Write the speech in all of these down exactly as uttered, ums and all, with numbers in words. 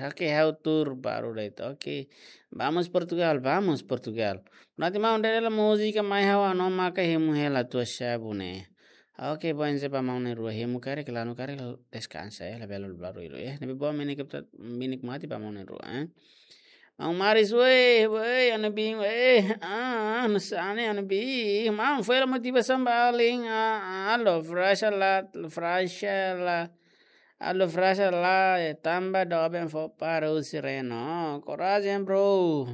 Oke, ha'u tuur balu de'it. Oke. Vamos Portugal, vamos Portugal. Bonatimaun, dere hela múzika mai ha'u hanoin maka hemu hela tua shabu ne'e. Oke, boa, entaun ba maun na'in-rua hemu karik, lanu karik, deskansa, eh, labele barullu, eh. Ne'ebé boa, menikmati, menikmati ba maun na'in-rua, eh. Maun Maris, weh, weh, ha'u-nia biin, weh, ah, ah, nusá ne'e, ha'u-nia biin, maun, foin hela motivasaun ba alin, ah, ah, lo, frasa la, frasa la, ah, lo, frasa la, eh, tanba doben fó para husi Reno, korajen, bro.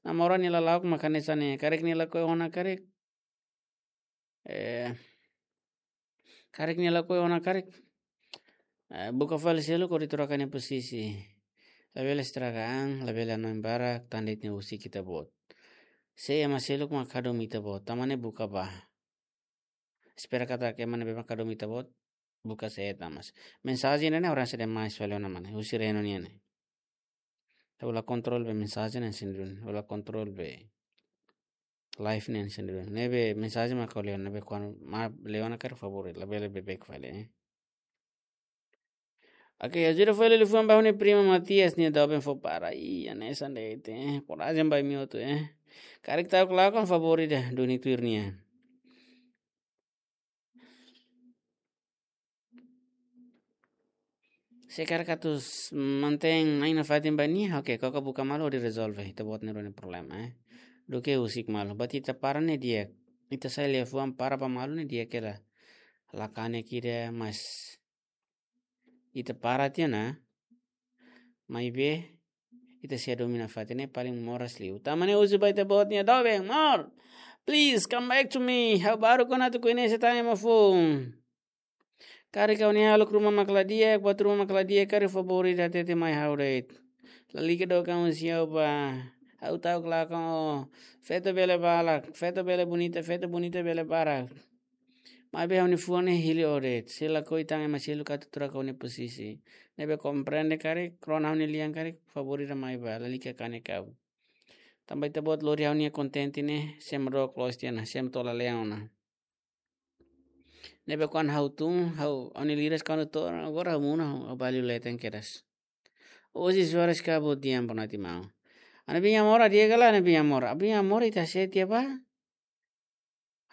Namora nia lala'ok mak hanesan ne'e, karik nia lakohi ona karik. Eh, karik nia lakohi ona karik. Eh, buka fali seluk hodi troka nia pozisi. Labele estraga an, labele hanoin barak, tan de'it nia husik ita-boot. Se ema seluk mak hadomi ita-boot, tanba ne'e buka bá. Espera katak ema ne'ebé mak hadomi ita-boot, buka sé tan mas. Mensajen ne'e oras de mais fali ona mane, husi Reno nian ne'e. Ha'u la kontrol be mensajen ne'e sendiri, ha'u la kontrol be live ne'e sendiri. Ne'ebé mensajen mak ha'u lee ona, ne'ebé kuandu mak lee ona karik favór, labele beibeik fali, eh. Oke, ajuda fali liafuan ba ha'u-nia prima Matias nia doben fó para. Ih, hanesan de'it, eh. Korajen ba imi hotu, eh. Karik ta'uk lakon favór ida duni tuir nia. Se karik atu mantein ai nafatin ba nia, oke, koko buka malu hodi rezolve ita-boot na'in-rua nia problema, eh. Duké husik malu, buat ita para ne'e di'ak. Ita sai liafuan para ba malu ne'e di'ak hela. La kanek ida, mas ita para tiha ona. Maibé ita sei hadomi nafatin ne'e paling moras liu. Tanba ne'e husu ba ita-boot nia doben, more. Please come back to me. Ha'u baru kona atu koñese tan ema foun. Karik ha'u-nia hahalok ruma mak la di'ak, buat ruma mak la di'ak, karik favór ida hatete mai ha'u de'it. Lalika dook an husi ha'u bá. Ha'u ta'uk lakon ó. Feto bele barak, feto bele bonita, feto bonita bele barak. Maibé ha'u-nia fuan ne'e hili ó de'it. Se lakohi tan ema seluk atu troka ó-nia pozisi. Ne'ebé komprende karik, rona ha'u-nia lian karik, favór ida mai bá, lalika kanek ha'u. Tanba ita-boot lori ha'u-nia kontente ne'e, sei mak dook loos tiha ona, sei mak to'o lalehan ona. Ne'ebé kuandu ha'u tun, ha'u, ha'u-nia liras kuandu to'o, agora ha'u monu, ha'u, ha'u baliu leten kedas. Osis horas ka bo diam Bonatimaun. Ha'u-nia biin amor, di'ak ka lae ha'u-nia biin amor. Ha'u-nia biin amor ita sei tiha bá.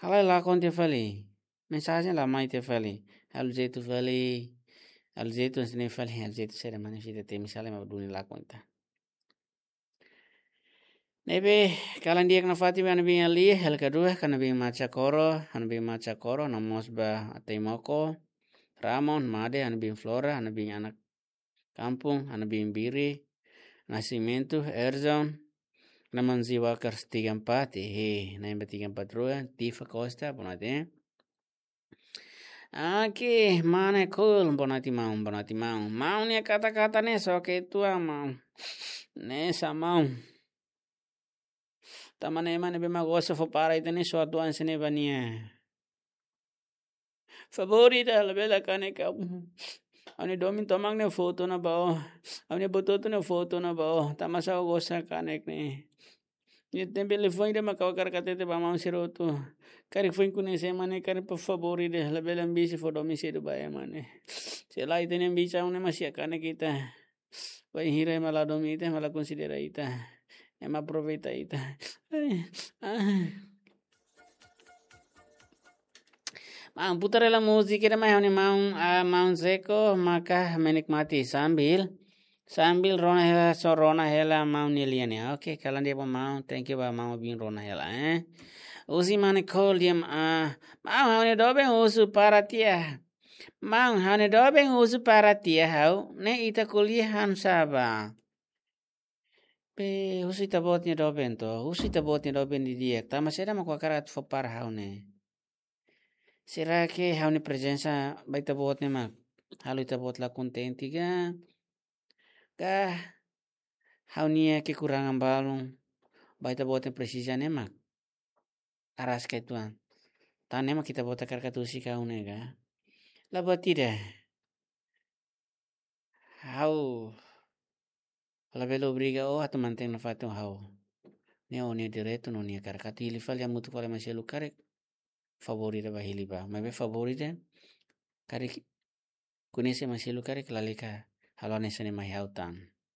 Halai lakon tiha fali. Mensajen la mai tiha fali. Halo jeitu fali. Halo jeitu hanesan ne'e fali. Halo jeitu sira mane sira temi sala ema duni lakon ita. Ne'ebé, kalan di'ak nafatin ba ha'u-nia biin Alia, hela kedua, ha'u-nia biin Macha Koro, ha'u-nia biin Macha Koro, no mós ba Ateimoko, Ramon, Made, ha'u-nia biin Flora, ha'u-nia biin anak kampung, ha'u-nia biin Biri, Nascimento, Erzon, Namanzi Wakers tiga empat, eh, na'in ba tiga empat rua, Tifa Costa, bonate. Aki, mane cool, Bonatimaun, Bonatimaun. Maun nia kata-kata ne'e só ke tua maun. Ne'e sa maun. Tanba ne'e ema ne'ebé mak gosta fó para ita ne'e só atu hanesan ne'e ba nia. Favór ida labele kanek ha'u. Ha'u-nia domin tomak nia foto ona ba ó. Ha'u-nia bototo nia foto ona ba ó. Tanba sá ó gosta kanek ne'e. Nia tempu liafuan ida mak ha'u hakarak hatete ba maun sira hotu. Karik foin koñese ema ne'e karik por favór ida labele ambisi fó domin sedu ba ema ne'e. Se lae ita-nia ambisaun ne'e mak sei kanek ita. Bainhira ema la domin ita, ema la konsidera ita. Ema aproveita ita. Ai, ai. Maun, putar hela múzika ida mai ha'u-nia maun, ah, maun Zeko, maka menikmati sambil, sambil rona hela, só rona hela maun nia lian ne'e. Oke, kalan di'ak ba maun, thank you ba maun bin rona hela, eh. Husi mane cool diam, ah, maun ha'u-nia doben husu para tiha. Maun ha'u-nia doben husu para tiha ha'u, ne'e ita ko'alia han saba. Be, husu ita-boot nia doben to, husu ita-boot nia doben didi'ak, tanba saida mak ó hakarak atu fó para ha'u ne'e. Será que ha'u-nia prezensa ba ita-boot ne'e mak halo ita-boot la kontente ka? Ka ha'u-nia kekurangan balun ba ita-boot nia presiza ne'e mak araska uitoan. Tan ne'e mak ita-boot hakarak atu husik ha'u ne'e ka? La buat ida. Ha'u labele obriga ó atu mantein nafatin ho ha'u. Ne'e ó-nia direitu no ó-nia hakarak atu hili fali hamutuk fali ema seluk karik. Favór ida bá hili bá. Maibé favór ida karik koñese ema seluk karik lalika halo hanesan ne'e mai ha'u tan.